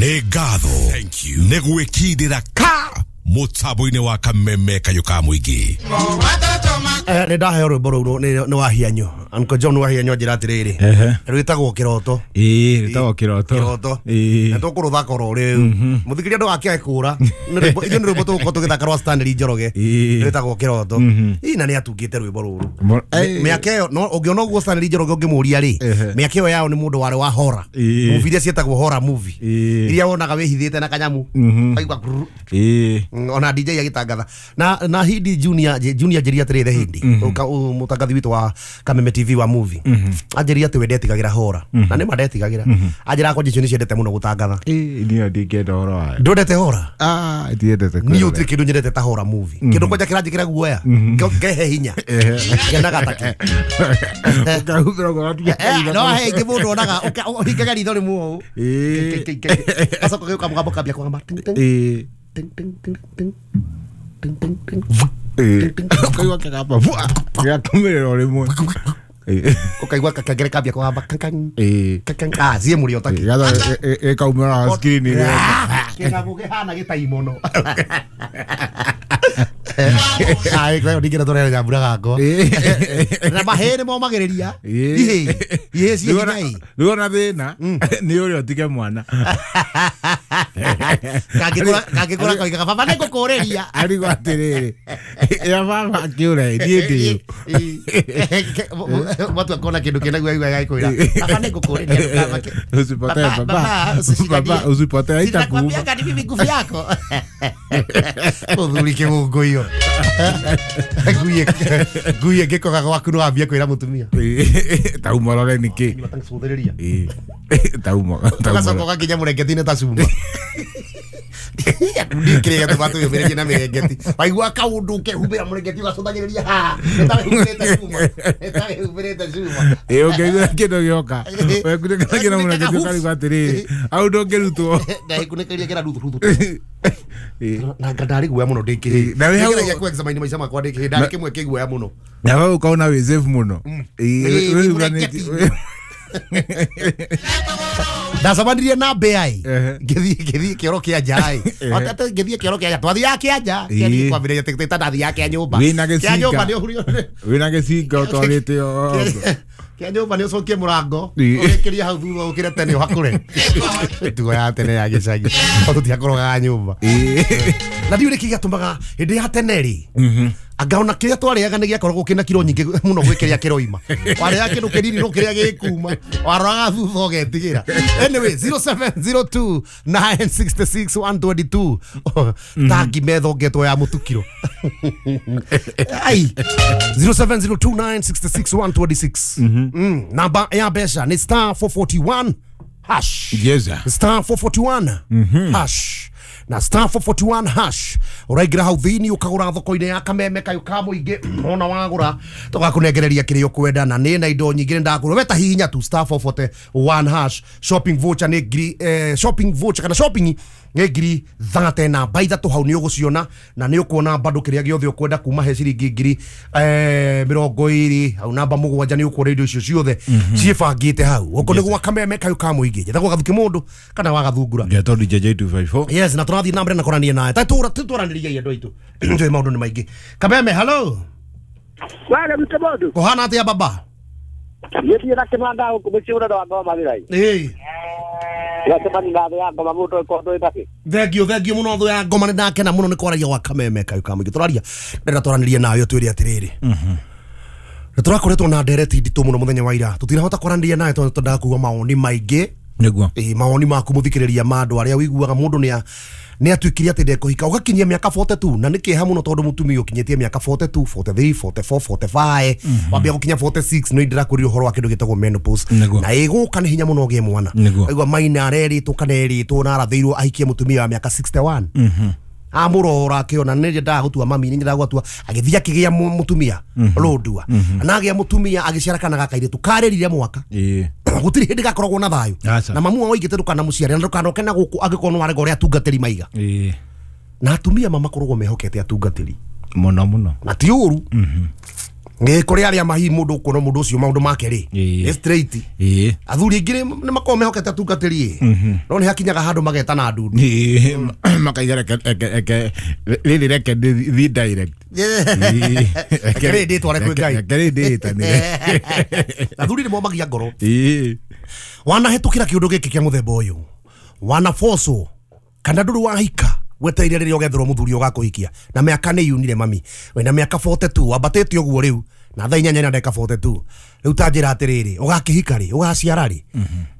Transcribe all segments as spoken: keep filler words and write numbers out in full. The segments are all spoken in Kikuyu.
Nĩ ngatho nĩ gwĩkindĩra ka mũtambo-inĩ wa Kameme Kayũ ka Mũingĩ. Eh, nĩ ndaheo rwĩmbo rũu nĩ nĩ Wahianyo, Uncle John Wahianyo anjĩra atĩrĩrĩ, Ehe. rwĩtagwo Kĩroto. Ĩĩ, rĩtagwo Kĩroto. Kĩroto. Ĩĩ. Na tũkũrũthaka oro rĩu. Mũthikĩria ndũgakĩae kũra. Nĩ rwĩmbo, ithuĩ nĩ rwĩmbo tũgũkorwo tũgĩthaka rwa Stanley Njoroge. Ĩĩ. Rwĩtagwo Kĩroto. Ii, na nĩ atungĩte rwĩmbo rũrũ. Mo- Ĩĩ. Mĩaka ĩyo no ũngĩona ũguo Stanley Njoroge ũngĩmũria rĩ, Ehe. mĩaka ĩyo yao nĩ mũndũ warĩ wa horror. Ĩĩ. Movie iria ciĩtagwo horror movie. Ĩĩ. Iria wonaga wĩhithĩte na kanyamu. Ũkaigua grrr. Ĩĩ. Mm, ona D J agitangatha na na Hindi Junior Junior anjĩria atĩrĩ, the Hindi mũtangathi witũ wa Kameme T V wa movie, anjĩria atĩ we ndetigagĩra hora, na nĩ ma ndetigagĩra. Anjĩra kwanja icio nĩ ciendete mũno gũtangatha. Ĩĩ, niĩ ndingĩenda ũhoro wayo. Ndwendete hora? Ah, ndiendete Niĩ kwĩrorera. gũtirĩ kĩndũ nyendete ta hora movie. Kĩndũ kwanja kĩranjĩkĩra guoya, ngehe hinya, ngenaga take. Ũkahumbĩra ũgatiga Eh, no he ingĩ mũndũ onaga ũka- ũhingaga ritho rĩmwe ũũ. Ĩĩ. Gacoka gĩũka mũgambo kambia kũgamba ting, ting, Ĩĩ. ting, ting, ting, ting, ting, ting, ting. Ĩĩ. Ũkaigua kĩgamba, vua, gĩgakumĩrĩra o rĩmwe. Ĩĩ. Ũkaigua kakengere kambia kũgamba kang, Ĩĩ. kang, ah, ciĩ mũrĩo taki. Ĩgatha- ĩ- ĩ- ĩkaumĩra screen-inĩ. Kĩgago kĩhana gĩtai mũno. Ai, kwa ndingĩra tũrere nyambura gakwa. Ĩĩ. Na mahĩĩ nĩ momagĩrĩria. Ĩĩ. Ihĩĩ. Ihĩĩ ciĩ Rĩu ona- hinya ĩ. rĩu ona thĩna nĩ ũrĩa ũtige mwana. Kangĩkũra kangĩkũra koigaga baba nĩ ngũkũrĩria. Arigwo atĩrĩrĩ, ya baba akĩũra ĩ, niĩ ndĩ ũ? Watu akona kĩndũ kĩna guoya gagĩkwĩra baba nĩ ngũkũrĩria ndũkamake. Usipotee Baba, baba. baba, usishindanie. Baba, usipotee, haitakuuma. Sinakwambiaga ni mimi nguvu yako. Mũthuri kĩgũngũiyo. Ngui ngui ĩngĩkoga gwaku no wambie kwĩra mũtumia. Ĩĩ, ta umorore nĩkĩ? Nyua tangĩcũthĩrĩria. Ĩĩ. Ta umo- ta Ũgacoka umorore. ũgakinya mũrengeti-inĩ ta cuma. Ndiĩ kĩrĩa gĩatũma twĩyũmĩrĩrie na mĩrengeti. Waigua kaũndũ ũkehumbĩra mũrengeti ũgacũthagĩrĩria haha. Nĩ ta wĩhumbĩrĩte cuma. Nĩ ta wĩhumbĩrĩte cuma. Ĩĩ, ũngĩigua kĩndũ gĩoka, wekunĩkanagia na mũrengeti ũkarigwo atĩrĩrĩ, hau ndũngĩrutwo. Na ĩkunĩkĩria kĩra ruthu ruthu. Ĩĩ. Na nga ndarĩ guoya mũno ndĩ kĩhĩĩ. Ĩĩ, na wĩ hau- Nĩngeragia kũ-examine maica makwa ndĩ kĩhĩĩ, ndarĩ kĩmwe kĩ guoya mũno. Na hau ũkaona wĩ safe mũno. Ĩĩ, Ĩĩ, wĩhuranĩtie- mũrengeti. Ndacemanirie na mbĩa ĩ. Ehe. Ngĩthiĩ ngĩthiĩ kĩoro kĩa nja ĩ. Atĩ ngĩthiĩ kĩoro kĩa nja, twathiaga kĩa nja. Ĩĩ. Kĩathiĩ kwambĩrĩria tĩ- ta ndathiaga kĩa nyũmba. Wĩna Kĩa gĩcinga. nyũmba nĩ ũhurio. Wĩna gĩcinga ũtwarĩte o Kĩa nyũmba nĩ ũcokie mũrango. Ĩĩ. Ũgĩkĩrie hau thutha ũkĩre tene ũhakũre. Mĩtugo ya tene ya gĩcagi. Tondũ tũtiakorogaga nyũmba. Ĩĩ. Na ndiũĩ nĩkĩ gĩatũmaga hĩndĩ ya tene rĩ, anga ona kĩrĩa twarĩaga nĩ gĩakoragwo kĩna kiro nyingĩ mũno gwĩ kĩrĩa kĩroima. Warĩaga kĩndũ kĩnini no kĩrĩa gĩkuma. Waroraga thutha ũgetigĩra. Anyway, zero seven zero two nine six six one twenty two. Ta ngima ĩthongetwo ya mũtukiro. Ai. zero seven zero two nine six six one twenty six. Mm. Namba ya mbeca nĩ star four forty one hash. Yes, sir. Star four forty one hash. Na star four forty one hash ũraingĩra hau thĩinĩ ũkagũra thoko-inĩ ya Kameme Kayũ ka Mũingĩ. Wona wagũra tũgakũnengereria kĩrĩa ũkwenda, na nĩ na indo nyingĩ ndakũra. We ta hihinya tu star four forty one hash. Shopping voucher nĩ ngiri, eh, shopping voucher kana shopping nĩ ngiri thate namba ithatũ hau nĩ ũgũciona, na nĩ ũkuona bado kĩrĩa gĩothe ũkwenda kuma he ciringi ngiri, eh, mĩrongo ĩrĩ hau namba mũgwanja nĩ ũkuona indo icio ciothe ciĩbangĩte hau. Gũkũ nĩ gwa Kameme Kayũ ka Mũingĩ. Njĩtagwo Gathuki mũndũ kana wa Gathungura. Ngetwo D J J two five four. Yes, na tũrathiĩ na mbere na kũrania nawe. Ta tũra tũranĩria andũ aitũ. Njũĩ maũndũ nĩ maingĩ. Kameme, hello. Wale mtu mũndũ. Kũhana atĩa baba? Gĩthiĩ na kĩmanda gũkũ mũciĩ ũrĩa wa ngoma wĩra-inĩ. Ĩĩ. Gacemania na thũ ya ngoma mũndũ ĩkorwo ndũĩ nakĩ. Thengio, thengio mũno thũ ya ngoma, nĩ ndakena mũno nĩ kwaragia gwa Kameme Kayũ ka Mũingĩ. Tũraria, ndĩrenda twaranĩrie nawe ũtwĩre atĩrĩrĩ. Nĩ tũrakoretwo na ndereti nditũ mũno mũthenya wa ira. Tũtinahota kwaranĩria nawe tondũ twendaga kũigua mawoni maingĩ. Nĩguo. Ĩĩ, mawoni maku mũthikĩrĩria ma andũ arĩa ũiguaga mũndũ nĩ a-, nĩ atuĩkire atĩ ndekũhika ũgakinyia mĩaka forty two, na nĩ kĩeha mũno tondũ mũtumia ũkinyĩtie mĩaka forty two, forty three, forty four, forty five, wambia gũkinya forty six, nĩ ndĩrakwĩrire ũhoro wa kĩndũ gĩtagwo menopause. Nĩguo. Na ĩgũka nĩ hinya mũno ũgĩe mwana. Nĩguo. Waigua maina arerĩtwo kana erĩtwo na arathĩirwo ahikie mũtumia wa mĩaka sixty one. Amũrora akĩona nĩ nyendaga gũtua mami, nĩ nyendaga gũtua, agĩthiĩ akĩgĩa mũ-, mũtumia rũndua. Na agĩa mũtumia agĩciara kana ga kairĩtu karĩrire mwaka. Ĩĩ. Gũtirĩ hĩndĩ gakoragwo na thayũ. Aca. Na mamu wao oigĩte ndũkanamuciare na ndũkanoke na gũkũ angĩkorwo nĩ warega ũrĩa atungatĩri maiga. Ĩĩ. Na atumia ma makoragwo mehokete atungatĩri. Mũno mũno. Na ti ũru. Nĩ kũrĩ arĩa mahi mũndũ ũkuona mũndũ ũcio maũndũ make rĩ Ĩĩ. nĩ straight. Ĩĩ. Athuri aingĩ nĩ makoragwo mehokete atungatĩri ĩ no nĩ hakinyaga handũ magetana ndundu. Ĩĩ, makaiga reke reke reke rĩrĩ reke thiĩ direct. Ĩĩ. Reke rĩrĩ ndĩtware kwĩ Ngai. Reke rĩrĩ ndĩĩtanĩre. Athuri nĩ momagia ngoro. Ĩĩ. Wanahĩtũkĩra kĩũndũ gĩkĩ kĩa mũthemba ũyũ, wanabocwo kana ndũrĩ wahika wetereire rĩrĩa ũgetherwo mũthuri ũgakũhikia na mĩaka nĩ yunire mami wĩna mĩaka forty-two wambatĩte ũguo rĩu na thaa inyanya na ndagĩka forty-two rĩu ta njĩra atĩrĩrĩ ũgakĩhika rĩ ũgaciara rĩ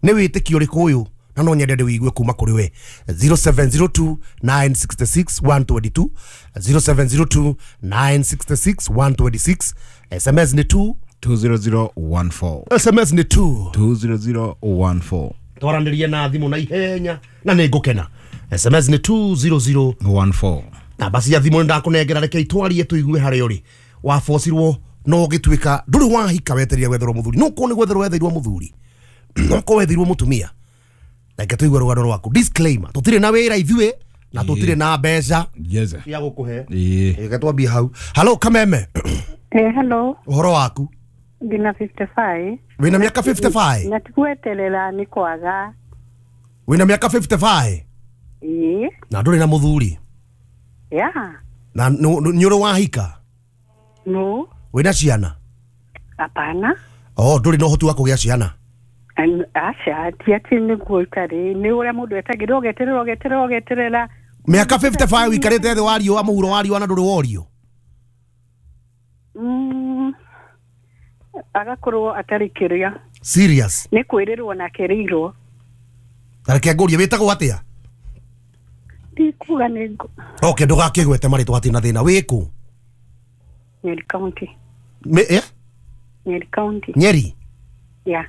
nĩ wĩtĩkio ũrĩkũ ũyũ na no nyende ndĩwĩigue kuma kũrĩ we zero seven zero two nine six six one two two zero seven zero two nine six six one two six S M S nĩ two two zero zero one four S M S nĩ two two zero zero one four twaranĩrie na thimũ na ihenya na nĩ ngũkena. S M S nĩ two zero zero one four namba cia thimũ nĩ ndakũnengera reke itwarie tũigue harĩa ũrĩ wabocirwo no ũgĩtuĩka ndũrĩ wahika wetereire gwetherwo mũthuri no korwo nĩ gwetherwo wetheirwo mũthuri no korwo wetheirwo mũtumia reke tũigue rũgano rwaku. Disclaimer, tũtirĩ na wĩra ithuĩ na tũtirĩ na mbeca Yes. cia gũkũhe. Ĩĩ. Reke twambie hau. Hello Kameme. Eh, hello. Ũhoro waku? Ndina fifty-five. Wĩna mĩaka fifty-five? Na tigweterera nĩ kwaga. Wĩna mĩaka fifty-five? Ĩĩ. Na ndũrĩ na mũthuri? Yeah. Na nĩ ũrĩ wahika? No. Wĩna ciana? Hapana. Oh, ndũrĩ na ũhoti wa kũgĩa ciana? Aca, ti atĩ nĩguo itarĩ, nĩ ũrĩa mũndũ etagĩrĩra ũgeterera ũgeterera ũgeterera. Mĩaka fifty-five ũikarĩte thĩ wa riũa mũhuro wa riũa na ndũrĩ worio? Mm. Agakorwo atarĩ kĩrĩa. Serious? Nĩ kwĩrĩrwo na kĩrĩirwo. Ta reke ngũrie wĩtagwo atĩa? Ndikuga nĩ ngũ. Okay, ndũgakĩgwete marĩtwa hatirĩ na thĩna. Wĩ kũ? Nyeri County. Me, eh? Nyeri County. Nyeri? Yeah.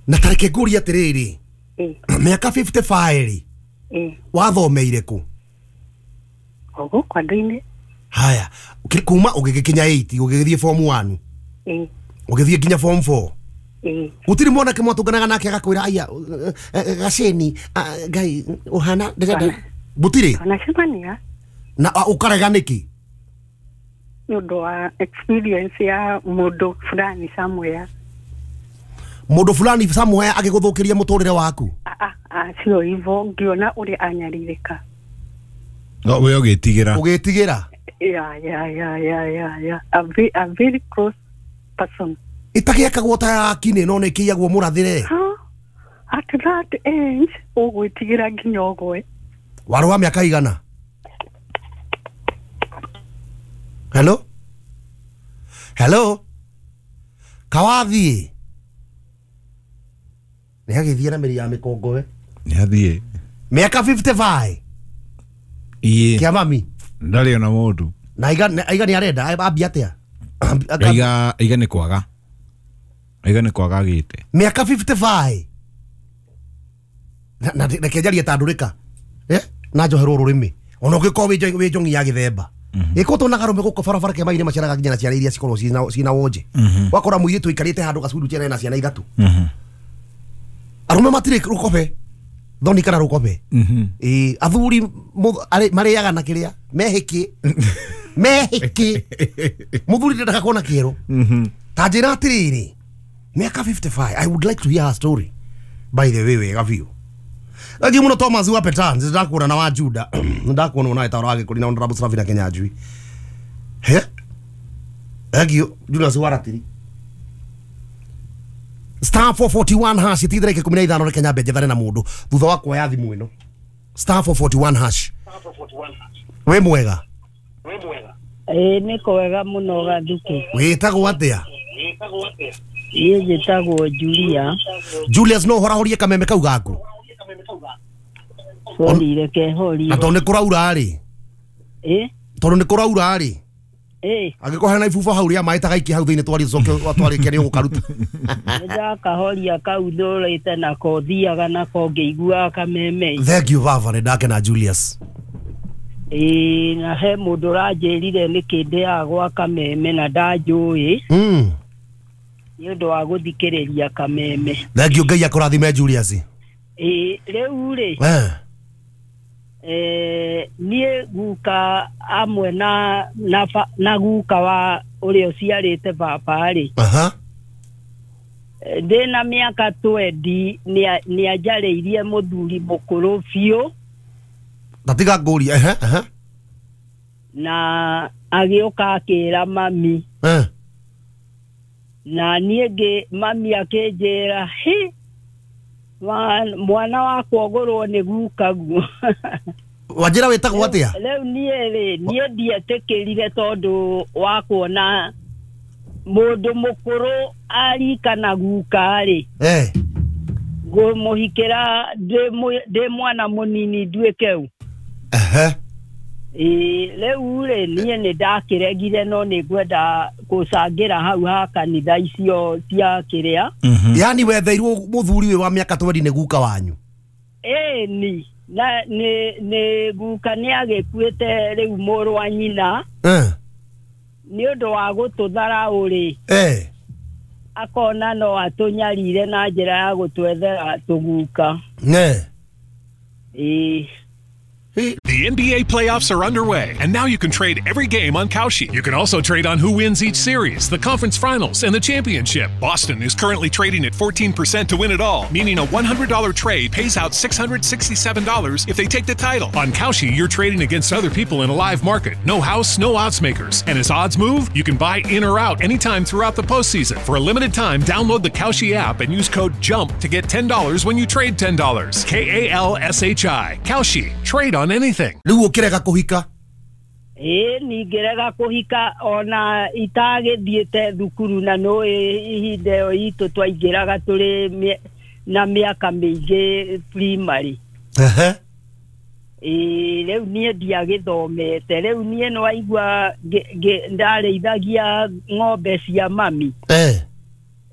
Na ta reke ngũrie atĩrĩrĩ. Eh. Mĩaka fifty-five rĩ. Eh. Wathomeire kũ? O gũkũ andũ-inĩ. Haya, kuma ũgĩgĩkinya eight ũgĩgĩthiĩ form one. Eh. Ũgĩthiĩ nginya form four. Eh. Gũtirĩ mwanake mwatũnganaga nake agakwĩra aya gaceni Ngai ũhana ndĩrenda gũtirĩ? Tunacemania. Na ũkarega nĩkĩ? Nĩ ũndũ wa experience ya mũndũ fulani somewhere. Mũndũ fulani somewhere agĩgũthũkĩria mũtũrĩre waku? Ah ah, sio hivyo, ngĩona ũrĩa anyarirĩka. No we ũgĩtigĩra. Ũgĩtigĩra? Yeah, yeah, yeah, yeah, yeah, yeah. A very, a very close person. Ĩtagĩakagwo ta ya kinĩ no nĩ ĩkĩiyagwo mũrathĩre. Huh? At that age, ũgwĩtigĩra nginya ũgwe. Warĩ wa mĩaka igana? Hello? Hello? Kawathiĩ? Nĩ agĩthiĩ na mĩri ya mĩkongowe. Nĩ athiĩ. Mĩaka fifty-five? Ĩĩ. Kĩa mami? Ndarĩ ona mũndũ. Na aiga aiga nĩ arenda ambia atĩa? Aiga aiga nĩ kwaga. Aiga nĩ kwaga agĩte. Mĩaka fifty-five? Na reke njarie ta ndũrĩka. Eh? Na njoherwo rũrĩmĩ. Ona ũngĩkorwo wĩ njongi ya gĩthemba. Ĩko tuonaga arũme gũkũ barabara kĩama-inĩ maciaraga nginya na ciana iria cikoragwo ciĩna ciĩna wonje. Wakora mũirĩtu ũikarĩte handũ gacundu ciana na ciana ithatũ. Arũme matirĩ rũkobe. Thoni kana rũkobe. Ĩĩ athuri marĩaga na kĩrĩa mehĩkĩ. Mehĩkĩ. Mũthuri ndendaga kuona kĩero. Ta njĩra atĩrĩrĩ. Mĩaka fifty-five, I would like to hear her story. By the way, wega biũ. Thank you muno Thomas wa Petans, ndakuona na wa Juda. Ndakuona na etaura wa Gĩkũri na Honorable Sravina Kenyanjui. He? Thank you Julius Waratiri. Star four forty-one hash itithire ikumi na ithano reke nyambe njethane na mundu thutha wa kuoya thimu ĩno. Star four forty-one hash. Wĩ mwega? Wĩ mwega. Ĩĩ nĩ kwega mũno Gathuku. Wĩtagwo atĩa? Wĩtagwo atĩa? Niĩ njĩtagwo Julia. Julius no ũhorahorie kameme kau gaku. Sorry, reke horie. Na tondũ nĩ kũraura rĩ. Ĩ? Tondũ nĩ kũraura rĩ. Ĩ. Angĩkorwo hena ibuba hau rĩa maĩ ta gaikia hau thĩinĩ twarie tũcoke twarĩkia nĩ ũgũkaruta. Nĩndakahoria kau thũrĩte nako thiaga nako ngĩiguaga kameme. Thank you baba, nĩ ndakena Julius. Ĩ na he mũndũ ũranjĩrire nĩkĩ ndĩaga gwa kameme na ndanjũĩ. Mm. Nĩ ũndũ wa gũthikĩrĩria kameme. Thank you, Ngai akũrathime Julius. Ĩ rĩu rĩ. Eh. Eh niĩ guka amwe na na, na guka wa ũrĩa ũciarĩte baba rĩ. Aha. Ndĩna mĩaka twendi nĩ anjarĩirie mũthuri mũkũrũ biũ. Tatiga ngũrie. Ehe, ehe. Na agĩũka akĩra mami. Eh. Na niĩ ngĩ mami akĩnjĩra hi mwana wakwa ũgũrwo nĩ gukaguo. Wanjĩra wĩtagwo atĩa? Rĩu niĩ rĩ niĩ ndietĩkĩrire tondũ wa kuona mũndũ mũkũrũ arika na guka rĩ. Eh. Ngũmũhikĩra ndĩ mwana mũnini nduĩke u. Ehe. Ĩĩ rĩu rĩ niĩ nĩ ndakĩregire no nĩ ngwenda gũcangĩra hau ha kanitha icio cia kĩrĩa. Yaani wetheirwo mũthuri ũyũ wa mĩaka twendi nĩ guka wanyu? Ĩĩ ni na nĩ nĩ guka nĩ agĩkuĩte rĩu mũrũ wa nyina. Eh. Nĩ ũndũ wa gũtũtharaũ rĩ. Eh. Akona no atũnyarire na njĩra ya gũtwethera tũguka. Ne. Ĩĩ. The N B A playoffs are underway, and now you can trade every game on Kalshi. You can also trade on who wins each series, the conference finals, and the championship. Boston is currently trading at fourteen percent to win it all, meaning a one hundred dollar trade pays out six hundred sixty-seven dollars if they take the title. On Kalshi, you're trading against other people in a live market. No house, no odds makers. And as odds move, you can buy in or out anytime throughout the postseason. For a limited time, download the Kalshi app and use code JUMP to get ten dollars when you trade ten dollars. K A L S H I. Kalshi. Trade on anything. Rĩu ũkĩrega kũhika? Ĩĩ ningĩrega kũhika ona itagĩthiĩte thukuru na no ihinda ĩyo itũ twaingĩraga tũrĩ na mĩaka mĩingĩ primary. Ehe. Ĩĩ rĩu niĩ ndiagĩthomete rĩu niĩ nĩwaigua ndarĩithagia ng'ombe cia mami. Eh.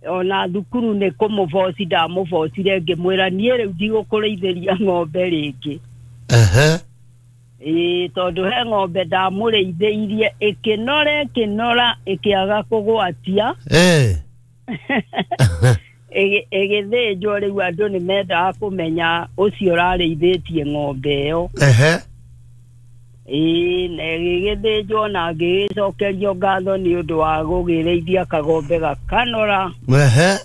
Ona thukuru nĩ kũmũboci ndamũbocire ngĩmwĩra niĩ rĩu ndigũkũrĩithĩria ng'ombe rĩngĩ. Ehe. Ĩĩ tondũ he ng'ombe ndamũrĩithĩirie ĩkĩnora ĩkĩnora ĩkĩaga kũgwatia. Eh. Ĩgĩthĩnjwo rĩu andũ nĩ mendaga kũmenya ũcio ũrarĩithĩtie ng'ombe ĩyo. Ehe. Ĩĩ na ĩgĩgĩthĩnjwo na ngĩgĩcokerio ngatho nĩ ũndũ wa gũgĩrĩithia kagombe gakanora. Ehe.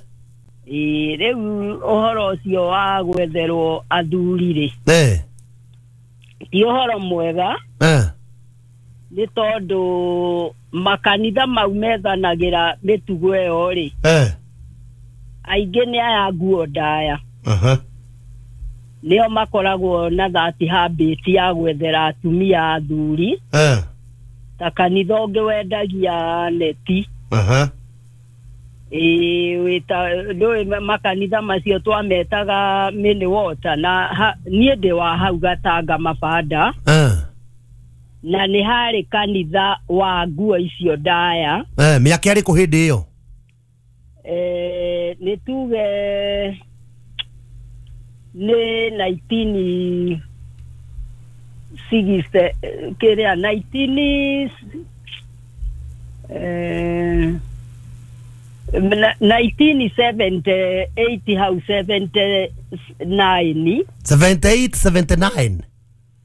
Ĩĩ rĩu ũhoro ũcio wa gwetherwo athuri rĩ. Eh. Ti ũhoro mwega. Eh. Nĩ tondũ makanitha mau methanagĩra mĩtugo ĩyo rĩ. Eh. Aingĩ nĩ aya nguo ndaya. Aha. Nĩo makoragwo na that habit ya gwethera atumia athuri. Eh. Ta kanitha ũngĩ wendagia neti. Aha. Ĩĩ wĩta ndũĩ makanitha macio twametaga mini water na niĩ ndĩ wa hau Gatanga Mabanda. Eh. Na nĩ harĩ kanitha wa nguo icio ndaya. Eh, mĩaka ĩrĩkũ hĩndĩ ĩyo? Eh, nĩ tuge nĩ nineteen sixty kĩrĩa nineteen eh nineteen seventy-eight hau seventy-nine. seventy-eight seventy-nine.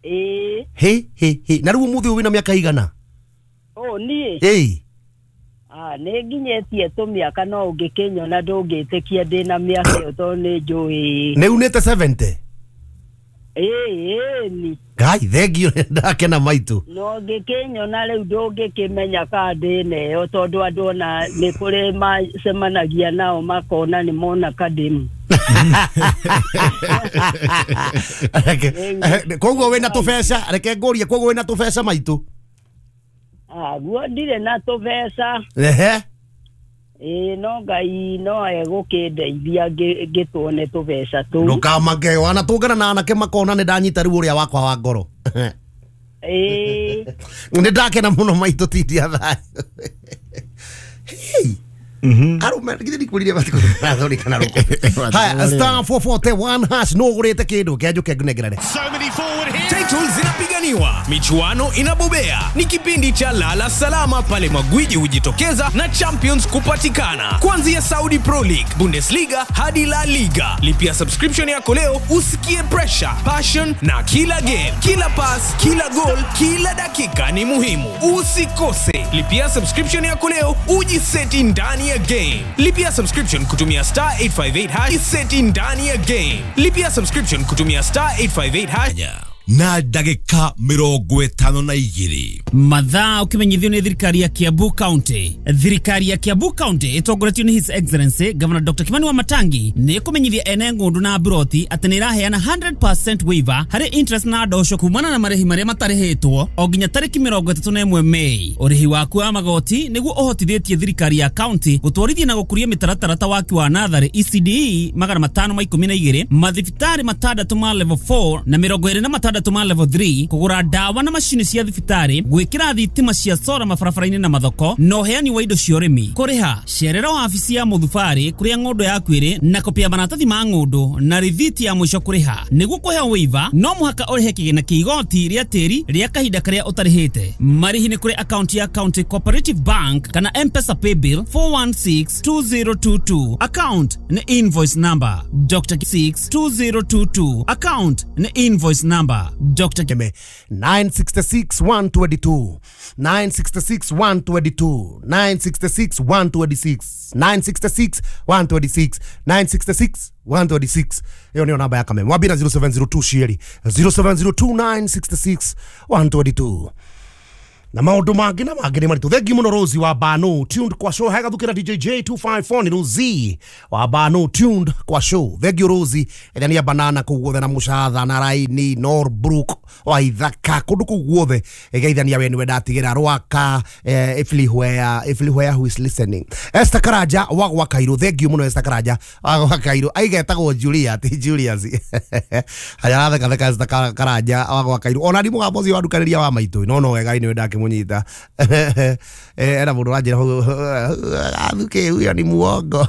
Ĩĩ. He he he. Na rĩu ũmũthĩ wĩna mĩaka igana? Oh niĩ. Ĩĩ. Ah nĩ nginyĩtie tũmĩaka no ũngĩkĩnyona ndũngĩtĩkia ndĩna mĩaka ĩyo tondũ nĩ njũĩ. Nĩ unĩte seventy? Ĩĩ ĩĩ ni. Ngai thengio ndakena maitũ. No ngĩkĩnyona rĩu ndũngĩkĩmenya kana ndĩna ĩyo tondũ andũ ona nĩ kũrĩ macemanagia nao makona nĩ mona kademu. Koguo wĩna tũbeca, reke ngũrie koguo wĩna tũbeca maitũ? Ah guo ndirĩ na tũbeca. Ehe. Ĩĩ no Ngai no egũkĩndeithia ngĩtuone tũbeca tũu. Ndũkamake wanatũngana na anake makona nĩ ndanyita rĩu ũrĩa wakwa wa ngoro. Ĩĩ. Nĩ ndakena mũno maitũ tindia thayũ. Hey. Arume githĩ ndikwĩrire matikũrathondekana rũkũ. Haya star four four one hash no ũgũrĩte kĩndũ kĩa njũke ngũnengerere. So many Titles zinapiganiwa, michuano inabobea. Ni kipindi cha lala salama pale magwiji hujitokeza na champions kupatikana. Kuanzia Saudi Pro League, Bundesliga hadi La Liga. Lipia subscription yako leo usikie pressure, passion na kila game, kila pass, kila goal, kila dakika ni muhimu. Usikose. Lipia subscription yako leo ujiseti ndani ya game. Lipia subscription kutumia star eight five eight hash, seti ndani ya game. Lipia subscription kutumia star eight five eight hash. Na ndagika mirongo ĩtano na igĩrĩ. Mathaa ukimenyithio nĩ thirikari ya Kiambu County. Thirikari ya Kiambu County ĩtongoretio nĩ His Excellency Governor Doctor Kimani Wamatangi nĩ ĩkũmenyithia ene ng'ũndũ na mburoti atĩ nĩ ĩraheana one hundred percent waiver harĩ interest na ndosho kumana na marĩhi marĩa matarĩhĩtwo o nginya tarĩki mĩrongo ĩtatũ na ĩmwe Mei. Ũrĩhi waku wa magoti nĩguo ũhotithĩtie thirikari ya county gũtwarithia na gũkũria mĩtaratara ta waki wa natharĩ E C D E magana matano ma ikũmi na igĩrĩ, mathibitarĩ matandatũ ma level four na mĩrongo ĩrĩ na matandatũ ma level three, kũgũra ndawa na macini cia thibitarĩ, gwĩkĩra thitima cia sora mabarabara-inĩ na mathoko, na ũheani wa indo cia ũrĩmi. Kũrĩha cerera wabici ya mũthubarĩ kũrĩa ng'ũndũ yaku ĩrĩ na kopi ya maratathi ma ng'ũndũ na rithiti ya mũico kũrĩha. Nĩguo kũheo waiver no mũhaka ũrĩhe kĩgĩna kĩa igoti rĩa tĩri rĩa kahinda karĩa ũtarĩhĩte. Marĩhi nĩ kũrĩ akaunti ya County Cooperative Bank kana M-Pesa Paybill four one six two zero two two, account nĩ invoice number Doctor six two zero two two, account nĩ invoice number Doctor Keme nine six six one two two, nine six six one two two, nine six six one two six, nine six six one two six, nine six six one two six. Iyo niyo namba ya Kameme. Wambira zero seven zero two cieri zero seven zero two nine six six one two two na maundu mangĩ na mangĩ nĩ maritũ. Thengi mũno Rosi wa Bano, tuned kwa show hagathukĩra D J J two five four. Nĩ Rosi wa Bano, tuned kwa show. Thengi Rosi ĩrĩa nĩ ya banana kũu guothe na mũcatha na raini Norbrook wa ithaka kũndũ kũu guothe ĩgeithania we nĩwe ndatigĩra rwaka eh, everywhere everywhere who is listening. Esther Karanja wa gwa Kairũ, thengi mũno Esther Karanja wa gwa Kairũ. Aigetagwo Julia ti Julius haya aratheka theka. Esther Karanja wa gwa Kairũ ona ni mũgambo ũcio wandukanĩria wa maitũ no no wega nĩwe ndakĩmũnyita. Era mũndũ wanjĩra athuke huyo ni muongo.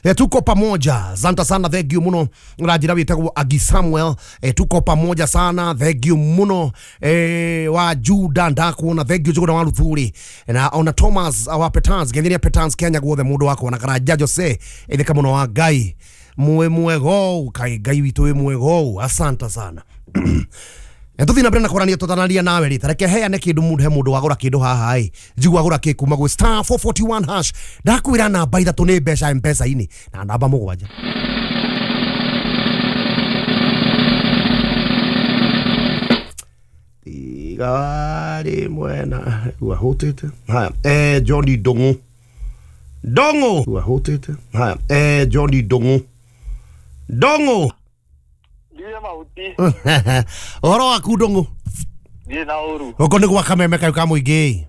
Eh, tuko pamoja, asante sana, thank you muno. Ũranjĩra wĩtagwo Agi Samuel. eh, tuko pamoja sana, thank you muno. eh, wa Juda ndakuona, thank you Juguna wa Luthuri na ona Thomas wa Petans genyeria Petans Kenya guothe mũndũ wakwa na Karanja Jose itheka mũno wa Ngai mwe mwego kai Ngai witũ wĩ mwego, asante sana. Tuthi na mbere na kwarania tutanaria nawe ri tareke heane kindu mundu he mundu wagura kindu haha i njigua agura ki kuma gwi star four four one hash. Ndakwira namba ithatu ni mbeca mpesa-inĩ na namba mũgwanja. Tiga mwena wahutite haya eh Johnny Ndung'u Ndung'u wahutite haya eh Johnny Ndung'u Ndung'u. Ndiye mahuti. Ũhoro waku Ndung'u? Ndiye na ũru. Gũkũ nĩ gwa Kameme kaũ ka mũingĩ.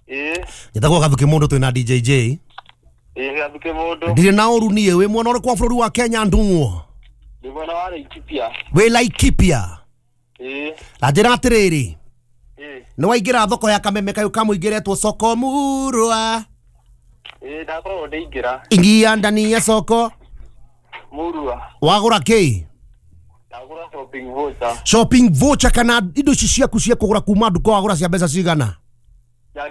Ĩĩ. Njĩtagwo Gathuki mũndũ twĩna D J J. Ĩĩ, Gathuki mũndũ. Ndirĩ na ũru niĩ. Wĩ mwena ũrĩkũ wa bũrũri wa Kenya, Ndung'u? Ndĩ mwena wa Laikipia. Wĩ Laikipia? Ĩĩ. Na njĩra atĩrĩrĩ, Ĩĩ. nĩ waingĩra thoko ya Kameme kaũ ka mũingĩ ĩretwo soko murwa? Ĩĩ, ndakorwo ndĩingĩra. Ingia ndani ya soko Murwa. Wagũra kĩ? Ndagũra shopping voucher. Shopping voucher kana indo ici ciaku cia kũgũra kuma nduka wagũra cia mbeca cigana? Ya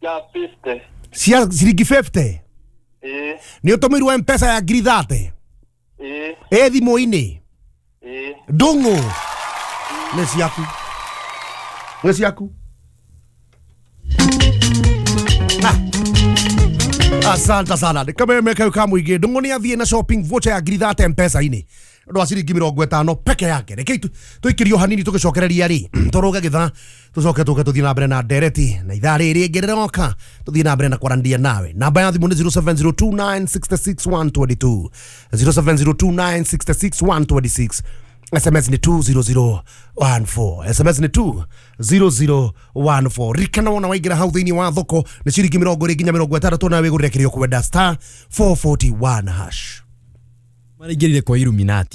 ya fifty. Cia ciringi fifty? Ĩĩ. Nĩ ũtũmĩirwo mpesa ya ngiri thate? Ĩĩ. Ĩ thimũ-inĩ? Ĩĩ. Ndung'u, nĩ ciaku, nĩ ciaku. Ah. Asante sana. Nĩ Kameme kau ka mũingĩ. Ndung'u nĩ athiĩ na shopping voucher ya ngiri thate mpesa-inĩ ũndũ wa ciringi mĩrongo ĩtano peke yake. Reke tũikĩrio hanini tũgĩcokereria rĩ tũrũge gĩthaa tũcoke tũke tũthiĩ na mbere na ndereti na ithaa rĩrĩ rĩngĩ rĩroka tũthiĩ na mbere na kwaranĩria nawe. Namba ya thimũ nĩ zero seven zero two nine six six one two two, zero seven zero two nine six six one two six. S M S ni two zero zero one four, S M S ni two zero zero one four. Ririkana wona waingĩra hau thĩinĩ wa thoko nĩ ciringi mĩrongo ĩrĩ nginya mĩrongo ĩtandatũ na wĩgũrĩre kĩrĩa ũkwenda star four four one hash. Maraingĩrire kwa Illuminati.